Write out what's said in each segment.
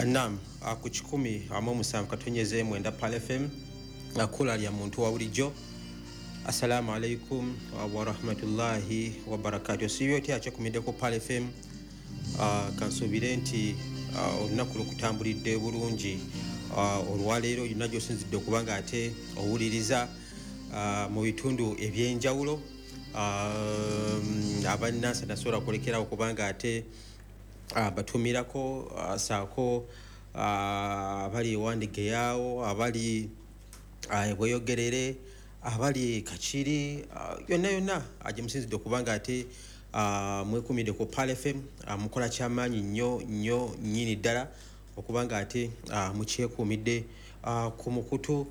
Nam ku 107.9 Pal FM akula lya muntu wa bulijjo. Assalamu alaikum wa rahmatullahi wa barakatuh. Siyo ti achakumidde ku Pal FM, kansuubire nti olunaku lukutambulidde bulungi olwaleero yonna gy'osinzidde okubanga ate owuliriza mu bitundu ebyenjawulo. Abannansi nasobola kulekerawo kubanga ate batumirako saako abali ewandigeyawo, abali bweyogerere, abali Kakiri, yonna yonna gye musinzidde okubanga ate mwekumidde ku Pal FM. Mukola kyamaanyi nnyo nnyo nnyini ddala okubanga ate mukyekuumidde ku mukutu.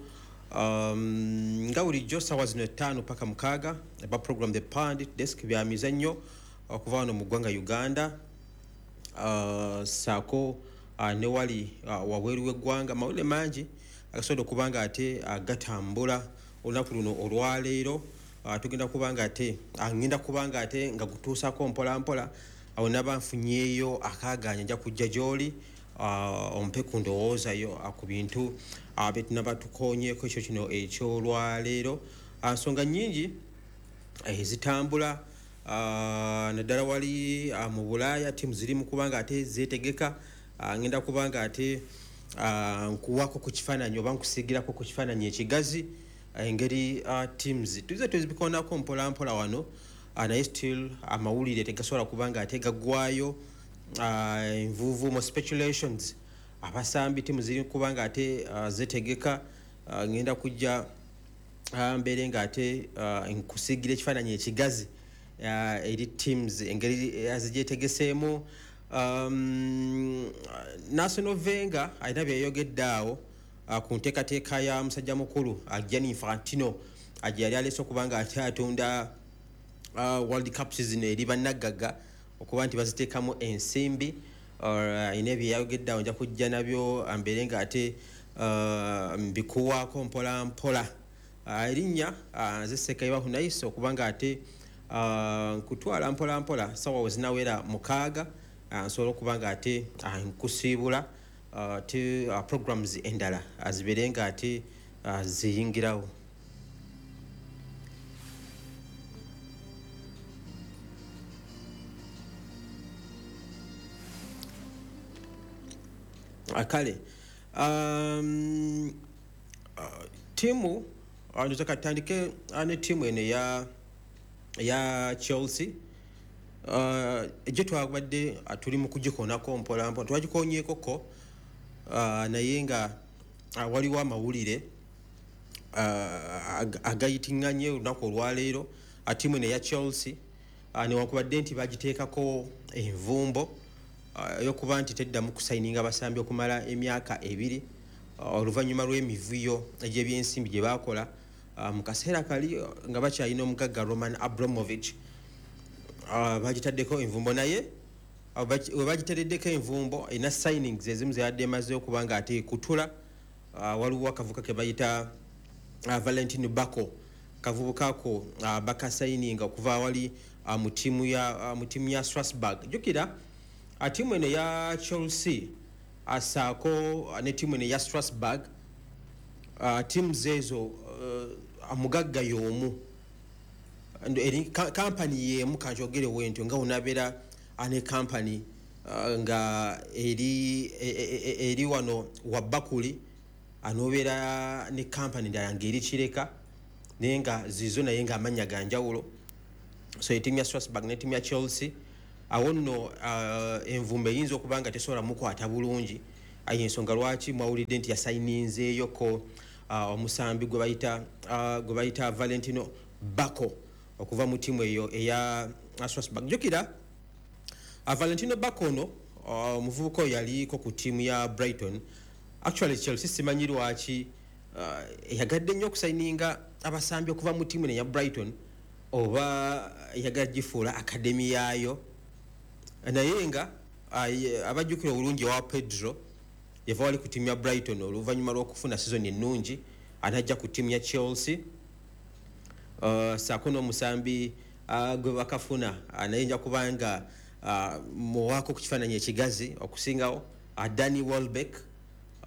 Nga bulijjo ssaawa zino 5 paka 6 aba program The Pundit Desk bya mizannyo okuva wano mu ggwanga Uganda, saako ne wali wabweru w'eggwanga. Mawulire mangi agasobola okubanga ate gatambula olunaku luno olwaleero. Tugenda kubanga ate ngenda kubanga ate nga gutuusako mpola mpola. Awo naba nfunyeeyo akaagaanya nja kujja gy'oli ompe ku ndowoozayo ku bintu bye tunaba tukoonyeeko ekyo kino eky'olwaleero. Nsonga nnyingi ezitambula naddala wali mu Bulaaya, ttiimu ziri mu kubanga ate zeetegeka. Ngenda kubanga ate nkuwako ku kifaananyi oba nkusiigirako ku kifaananyi ekigazi engeri teams tuze tuzibikoonako mpola mpola wano, naye still amawulire tegasobola kubanga ate gaggwayo. Envuuvu mu speculations, abasambi ttiimu ziri kubanga ate zeetegeka. Ngenda kujja mbeere nga ate nkusiigira ekifaananyi ekigazi eri teams engeri azigyetegeseemu. National Wenger alina byeyayogedde awo ku nteekateeka ya musajja mukulu Gianni Infantino gye yali aleese okubanga ate atunda World Cup season eri bannagagga okuba nti baziteekamu ensimbi. Alina byeyayogedde awo, nja kujja nabyo mbeere nga ate mbikuwaako mpola mpola. Erinnya nze Sekayiba Hunayisi okubanga ate nkutwala mpola mpola. Sawa we zinawera 6 nsobola okuba nga ate nkusiibula te programs endala zibeere nga ate ziyingirawo. Kale ttiimu ndoza katandike ne ttiimu eno ya Chelsea gye twabadde tuli mu kugikoonako mpola mpola, twagikonyeekoko naye nga waliwo amawulire agayitiŋŋanye olunaku olwaleero. Ttiimu eno eya Chelsea newankubadde nti bagiteekako envumbo ey'okuba nti teddamu kusayininga abasambi okumala emyaka 2 oluvannyuma lw'emivuyo egy'ebyensimbi gye baakola mu kaseera kali nga bakyalina omugagga Roman Abramovich. Bagitaddeko envumbo, naye we bagiteereddeko envumbo erina signings ezimu zeyadde emaze okuba nga ate kutula. Waliwo akavuka ke bayita Valentino Bako, kavubuka ako bakasayininga okuva wali mu ttiimu ya Strasbourg. Jjukira ttiimu eno eya Chelsea asaako ne ttiimu eno eya Strasbourg, teams ezo omugagga y'omu, kampani y'emu kanjogere wentyo nga onabeera ne kampani nga eri wano wa Bakuli, anobeera ne kampani ndala ng'eri Kireka, naye nga zizo naye nga amannya ga njawulo. So ettiimu ya Strasbourg ne ttiimu ya Chelsea awo nno envumbo eyinza okuba nga tesobola mukwata bulungi. Ensonga lwaki mwawulidde nti yasayininzeeyoko omusambi gwe bayita Valentino Bako okuva mu ttiimu eyo eya Strasbourg. Jjukira Valentino Bako ono omuvubuka oyo yaliko ku ttiimu ya Brighton. Actually Chelsea simanyi lwaki eyagadde nnyo okusayininga abasambi okuva mu ttiimu eya Brighton, oba eyagala gifuula academy yaayo, naye nga abajjukira obulungi owa Pedro yava wali ku ttiimu ya Brighton oluvannyuma lw'okufuna season ennungi anajja ku ttiimu ya Chelsea. Saako n'omusambi gwe bakafuna naye nja kubanga muwaako ku kifaananyi ekigazi okusingawo. Danny Welbeck,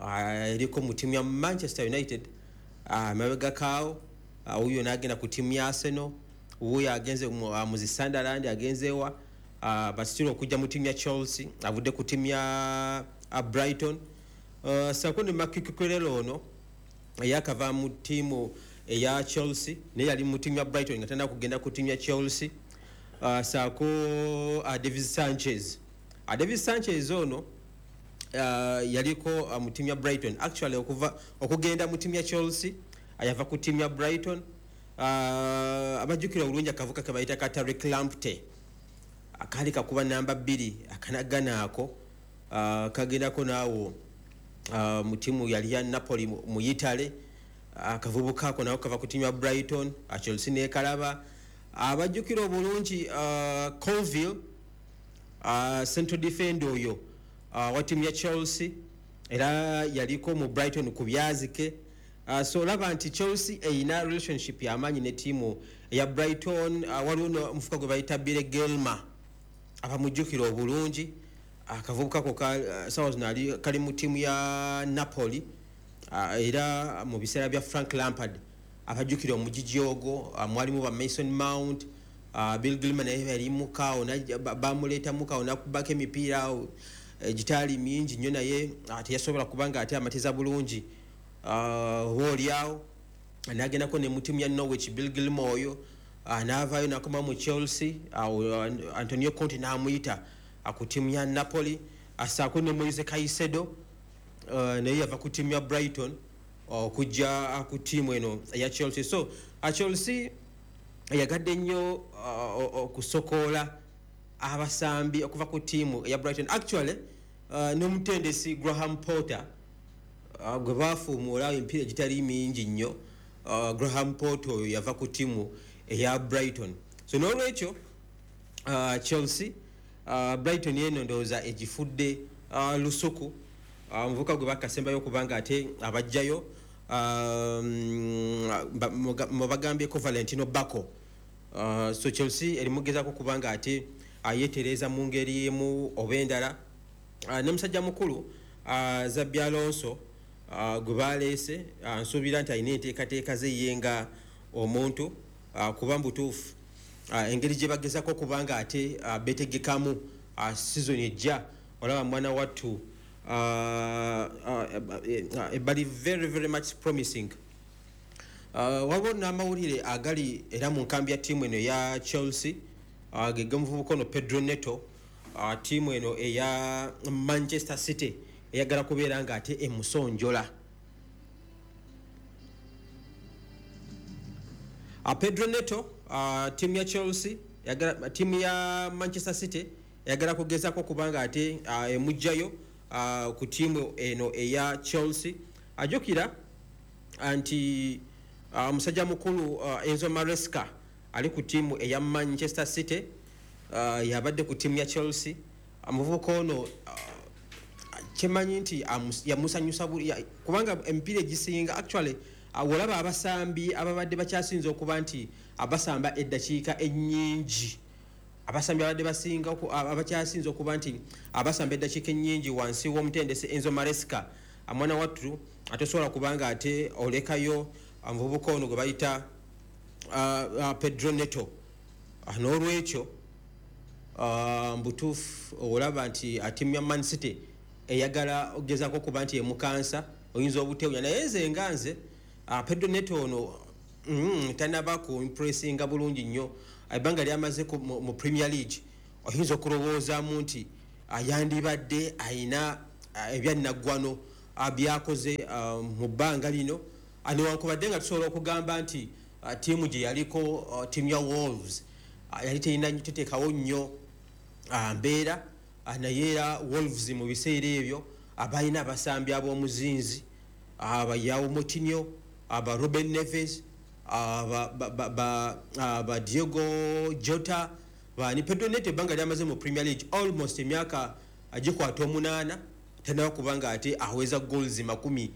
eriko mu ttiimu ya Manchester United mabegakaawo. Wuyo n'agenda ku ttiimu ya Arsenal, wuyo agenze mu zi Sunderland, agenzeewa, but still okujja mu ttiimu ya Chelsea avudde ku ttiimu ya Brighton. Sako ne Marc Cucurella, ono eyakava mu ttiimu eya Chelsea, naye yali mu ttiimu ya Brighton nga tannaba kugenda ku ttiimu ya Chelsea. Saako Davis Sanchez. Davis Sanchez ono yaliko mu ttiimu ya Brighton. Actually, okuva okugenda mu ttiimu ya Chelsea yava ku ttiimu ya Brighton. Abajjukira obulungi akavuka ke bayita ka Tariq Lamptey, akaali kakuba namba 2, akanagana ako kagendako naawo mu ttiimu yali ya Napoli mu Italy. Akavubuka ako nako kava ku ttiimu ya Brighton, Chelsea nekalaba. Abajjukira obulungi Colwill, central defender oyo wa ttiimu ya Chelsea, era yaliko mu Brighton ku byazike. So olaba nti Chelsea eyina relationship yamaanyi ne ttiimu eya Brighton. Waliwo omuvubuka gwe bayita Billy Gilmour, abamujjukira obulungi akavubuka ko sawa zino ali kali mu ttiimu ya Napoli. Era mu biseera bya Frank Lampard, abajjukira omugigi ogwo, mwalimu ba Mason Mount, Bill Gilmour naye yalimuka, bamuleetamuka awo nakubako emipiira awo egitaali mingi nnyo, naye teyasobola kubanga ate amatiza bulungi. Oba oliawo nagendako ne mu ttiimu ya Norwich, Bill Gilmour oyo n'avaayo nakoma mu Chelsea. Awo Antonio Conte n'amuyita ku ttiimu ya Napoli. Asaako ne Moise Caicedo, naye yava ku ttiimu ya Brighton okujja ku ttiimu eno eya Chelsea. So Chelsea yagadde nnyo okusokoola abasambi okuva ku ttiimu eya Brighton. Actually, n'omutendesi Graham Potter, gwe bafuumuula emipiira egitali mingi nnyo, Graham Potter oyo yava ku ttiimu eya Brighton. So n'olwekyo Chelsea, Brighton eno ndowooza egifudde lusuku. Omuvubuka gwe bakasembayo okubanga ate abajjayo, mubagambyeko Valentino Bako. So Chelsea erimugezaako kubanga ate ayetereeza mu ngeri emu oba endala. Ne musajja mukulu Xabi Alonso, gwe baleese, nsuubira nti alina enteekateeka ze ye nga omuntu, kuba mubutuufu engeri gye bagezako okubanga ate betegekamu season ejja, olaba mwana wattu ebali very very much promising. Waliwo n'amawulire agali era mu nkambi ya ttiimu eno eya Chelsea, ge g'omuvubuka ono Pedro Neto. Ttiimu eno eya Manchester City eyagala kubeera nga ate emusonjola. Pedro Neto, ttiimu ya Chelsea, ttiimu ya Manchester City eyagala kugezako kubanga ate emugjayo ku ttiimu eno eya Chelsea. Ajjukira nti omusajja mukulu Enzo Maresca ali ku ttiimu eya Manchester City, yabadde ku ttiimu ya Chelsea. Omuvubuka ono kyemanyi nti yamusanyusa kubanga emipiira egisinga, actually, olaba abasambi ababadde bakyasinze okuba nti abasamba eddakiika ennyingi, abasambi abadde basinga abakyasinze okuba nti abasamba eddakiika ennyingi wansi w'omutendesi Enzo Maresca, mwana wattu atosobola kubanga ate olekayo omuvubuka ono gwe bayita Pedro Neto. N'olwekyo mbutuufu olaba nti ttiimu ya Man City eyagala okugezaako okuba nti emukansa, oyinza obutewunya. Naye nze nga nze, Pedro Neto ono tanaba ku impressinga bulungi nnyo. Ebbanga lyamaze mu Premier League, oyinza okulowoozaamu nti yandibadde ayina ebyannaggwano byakoze mu bbanga lino, newankubadde nga tusobola okugamba nti ttiimu gye yaliko, ttiimu ya Wolves, yali terina teteekawo nnyo mbeera. Naye era Wolves mu biseera ebyo balina abasambi ab'omuzinzi, aba João Moutinho, aba Ruben Neves, ba Diogo Jota, bani. Pedro Neto ebbanga lyamaze mu Premier League, almost emyaka gikwata 8, tanaba kubanga ate aweza goals 30.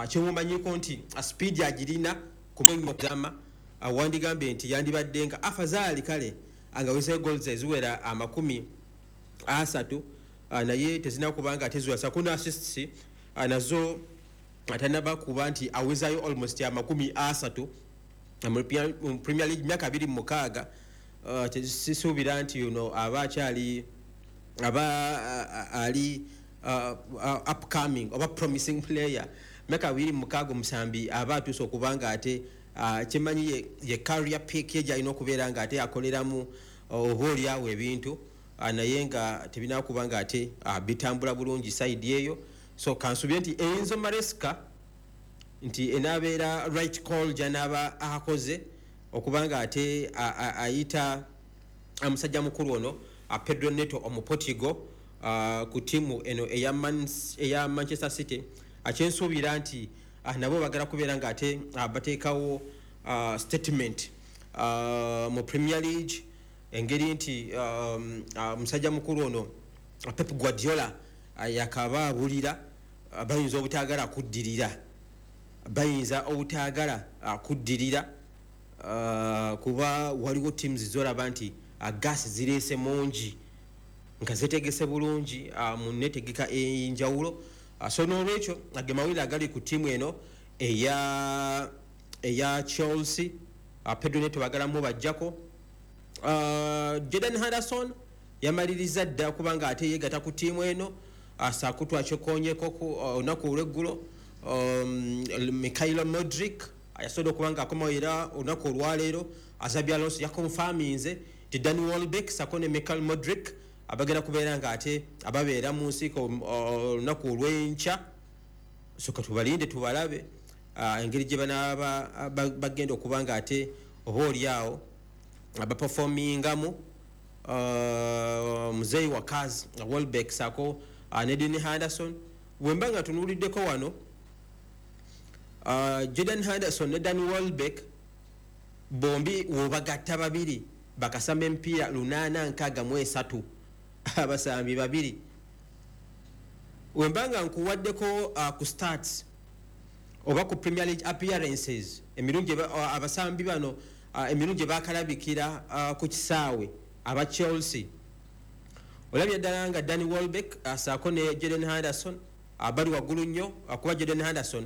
Kyemumanyiko nti speed agirina kumama, wandigambye nti yandibadde nga afazaali kale angaweza goals eziwera 30. Naye tezina kubanga ate ziwasa kuna assists nazo atanaba kuba nti awezayo almost 30 mu Premier League, myaka 26. Sisuubira nti yuno aba akyali aba ali upcoming oba promising player. Myaka 26, omusambi aba atuuse okuba nga ate kyemanyi ye career peak ye gyalina okubeera nga ate akoleramu oba oliawo ebintu, naye nga tebinakuba nga ate bitambula bulungi side eyo. So kansubire nti Enzo Maresca nti enabeera right call gyanaaba akoze okuba nga ate ayita musajja mukulu ono Pedro Neto Omuportugal ku tiimu eno eya Manchester City. Kyensuubira nti nabo bagala kubeera nga ate bateekawo statement mu Premier League, engeri nti musajja mukulu ono Pep Guardiola yakaba abulira, bayinza obutaagala kuddirira, bayinza obutaagala kuddirira, kuba waliwo teams zolaba nti gas zireese mungi nga zetegese bulungi mu netegeka enjawulo. So n'olwekyo ge mawulire agali ku ttiimu eno eya Chelsea. Pedro Neto bagalamu bajjako. Jordan Henderson yamaliriza dda kubanga ate yeegata ku ttiimu eno, saako twakikonyeko olunaku olweggulo. Mykhailo Mudryk yasobodde okuba nga akomawo era olunaku olwaleero Xabi Alonso yakonfaminze nti Danny Welbeck sako ne Mykhailo Mudryk abagenda kubeera nga ate ababeera mu nsiiko olunaku olw'enkya. So katubalinde tubalabe engeri gye banaaba bagenda okuba nga ate oba oliawo baperformingamu. Muzeeyi wakazi Welbeck sako ne Dean Henderson, wemba nga tunuuliddeko wano Jordan Henderson ne Dan Welbeck bombi wobagatta babiri bakasamba emipiira 863, abasambi babiri. Wemba nga nkuwaddeko ku stats oba ku Premier League appearances, emirundi abasambi bano emirundi gye bakalabikira ku kisaawe aba Chelsea, olabye ddala nga Danny Welbeck saako ne Jordan Henderson bali waggulu nnyo, kuba Jordan Henderson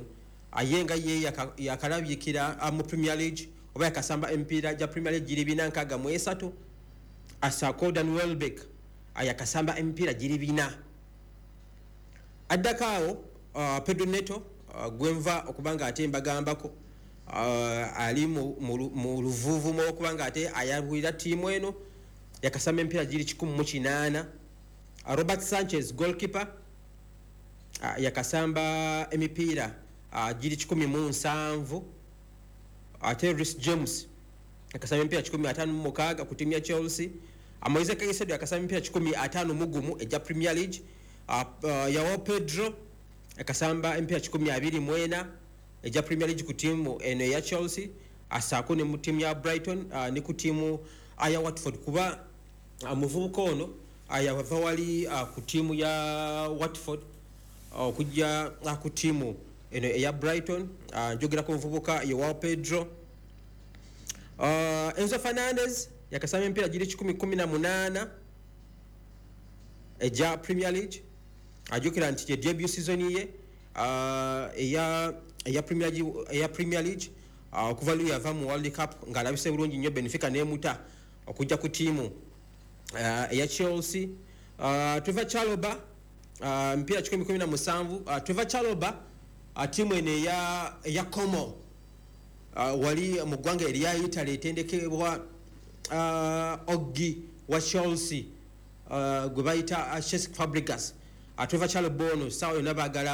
ye nga ye yakalabikira mu Premier League oba yakasamba emipiira gya Premier League giri 463, asaako Dan Welbeck yakasamba emipiira giri 400. Addako awo Pedro Neto, gwenva okuba nga ate mbagambako, ali mu luvuuvumo okuba nga ate ayabulira ttiimu eno, yakasamba emipiira giri 108. Robert Sanchez, goalkeeper, yakasamba emipiira giri 107. Ate Reece James yakasamba emipiira 156 ku ttiimu ya Chelsea. Moise Caicedo yakasamba emipiira 151 egya Premier League. Joao Pedro yakasamba emipiira 124 egya Premier League ku ttiimu eno eya Chelsea, asaako ne mu ttiimu ya Brighton, ne ku ttiimu ya Watford, kuba muvubuka ono yava wali ku ttiimu ya Watford okujja ku ttiimu eno eya Brighton. Njogera ku muvubuka Joao Pedro. Enzo Fernandez yakasamba emipiira giri 118 egya Premier League. Ajjukira nti ye debut season ye eya Premier League, okuva lu yava mu World Cup ng'alabise bulungi nnyo, Benfica nemuta okujja ku ttiimu eya Chelsea. Trevor Chalobah, emipiira 117. Trevor Chalobah, ttiimu eno eya Como, wali mu ggwanga erya Italy, etendekebwa oggi wa Chelsea gwe bayita Cesc Fabregas. Trevor Chalobah ono saawa yonna baagala.